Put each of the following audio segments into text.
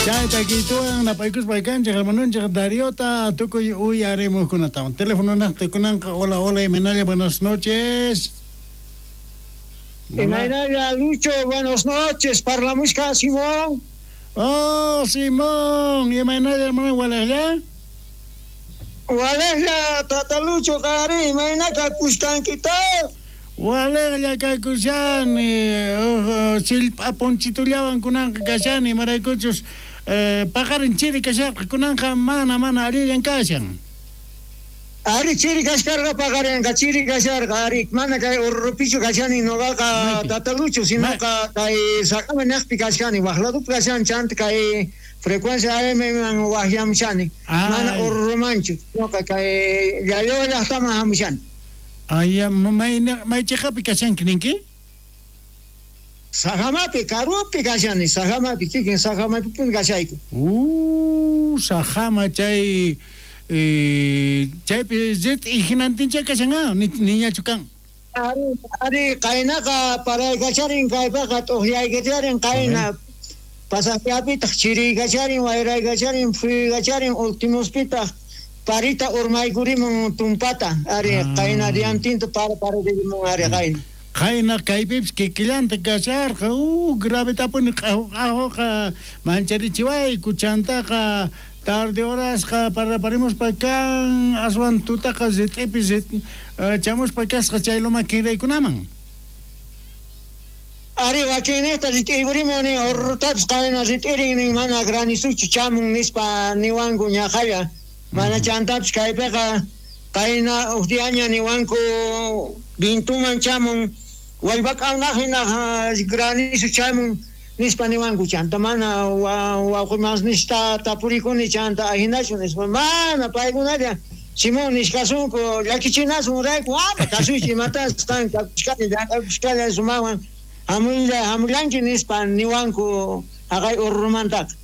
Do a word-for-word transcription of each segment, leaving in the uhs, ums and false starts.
Chayta kituan napaykuspa kanchej hermanonchej Dariota tukuy uyarimuqkunatawan. Teléfono naqta hola, hola, imaynalla, buenas noches. Imaynalla, Lucho, buenas noches. Parlamushka Simón. Oh, Simón, imaynalla, hermano, walejlla. Walejlla, tata Lucho, qari, imayna kakushkankita. Walejlla kakushani, sillp'a ponchitullawan kunanqa kashani, imaraykuchus eh, paqarin chiri kasharqa kunanqa mana mana allillan kashan. Ari chiri kasharqa paqarinqa chiri kasharqa ari mana kay Oruro-pichu kashani noqaqa tata Lucho sinoqa kay Sajama naqpi kashani waqladupi kashani chanta kay frecuencia A M man waqyamushani mana Oruromanchu noqa kay Llallawa llaqtaman hamushani. Ay, may may chiqapi kashanki ninki? Sajamapi, karupi kashani, Sajamapi, kikin Sajamapipuni kashayku. Uh, Sajama chay eh, chaypi rit'i hinantincha kashan ah, niñachu kan. Ari, ari qaynaqa paraykacharin kaypaqa t'uqyaykacharin qayna pasaqllapitaq chiriykacharin wayraykacharin phuyaykacharin ultimospitaq parita urmaykurimun tumpata ari qayna diantinta para pararimun ari qayna. Qayna kaypipis kikillanta kasharqa uh gravetapuni q'ahuqa mancharichiwayku chantaqa tarde horasqa paraparimuspa kan aswan tutaqa rit'ipi chamuspa kasqa chay loma kinraykunaman. Ari wakinnejta rit'iykurimun nin Orurutapis qayna rit'irin nin mana granisuchu chamun nispa niwanku ñaqalla mana chantapis kaypiqa qayna uj diaña niwanku vintuman chamun wallpak'awnaq hina granizo chamun nispa niwanku chanta mana wawqimasnista tapurikuni chanta ahinachu nispa mana paykunalla Simón nishkasunku llakichinasun rayku ama kasuychi imatas qan kakushkalla llank'akushkalla sumawan hamulla hamullanki nispa niwanku haqay Oruromantaqa.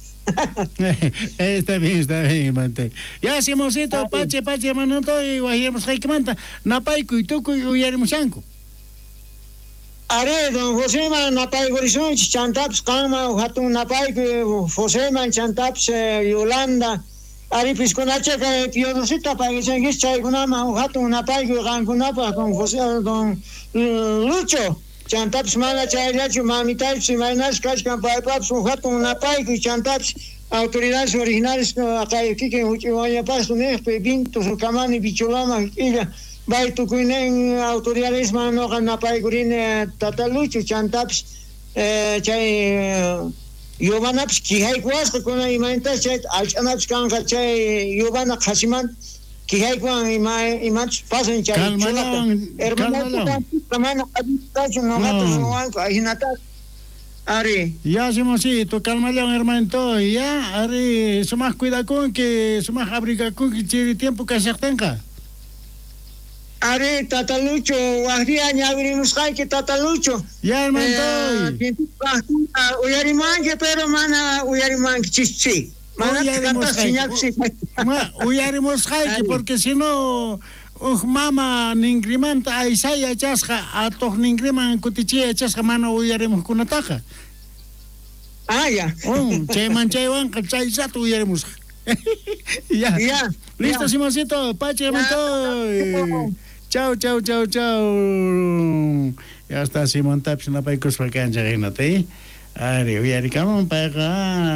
Está bien, está bien, hermano. Ya, Simoncito, pache, pache, hermano, y wajimusqaykimanta napaykuy tukuy uyarimushanku. Are, don Joseman napaykurisunchis chantapis qanman hatun napaykuy Joseman chantapis Yolanda ari piskunacha kay Piodosita paykachankis chaykunaman hatun napaykuy qankunapaq don José don Lucho chantapis mana chayllachu mamitaypis imaynash kashkan paypapis hatun napaykuy chantapis autoridades originales kay kikin huch'iwañapasqa niqpi Vinto Sukamani Bicholama k'illa bay tukuynin autoridadesman noqa napaykurini tata Lucho chantapis chay yubanapis quijaykuwasqa kuna imaynatas chay allch'anapis kanqa chay yubana qhasimanta quijaykuwan ima imachus pasan chay chulata hermanota mana allintachu noqata ruwanku ahinata. Ari. Ya, Simoncito, calmallawan hermanito, ya, ari, sumaq cuidakunki, sumaq abrigakunki chiri tiempo kashaqtinqa. Ari, tata Lucho, waqdia ñawirimusqayki tata Lucho. Ya, hermanito. Uyarimanki, pero mana uyarimanki chischi. Mana uyarimusqayki, porque si no uj mama ninkrimanta aysay yachasqa atuq ninkriman kutichiy yachasqa mana uyarimuqkunataqa. Ah, ya. Oh, chayman chaywanqa chay rato uyarimusqa. Ya. Ya. Listo, ya. Simoncito, pache, hermanito. Chau, chau, chau, chau. Ya está Simón tapis napaykuspa kanchej hinata, eh. Ari, uyarikamun payqa.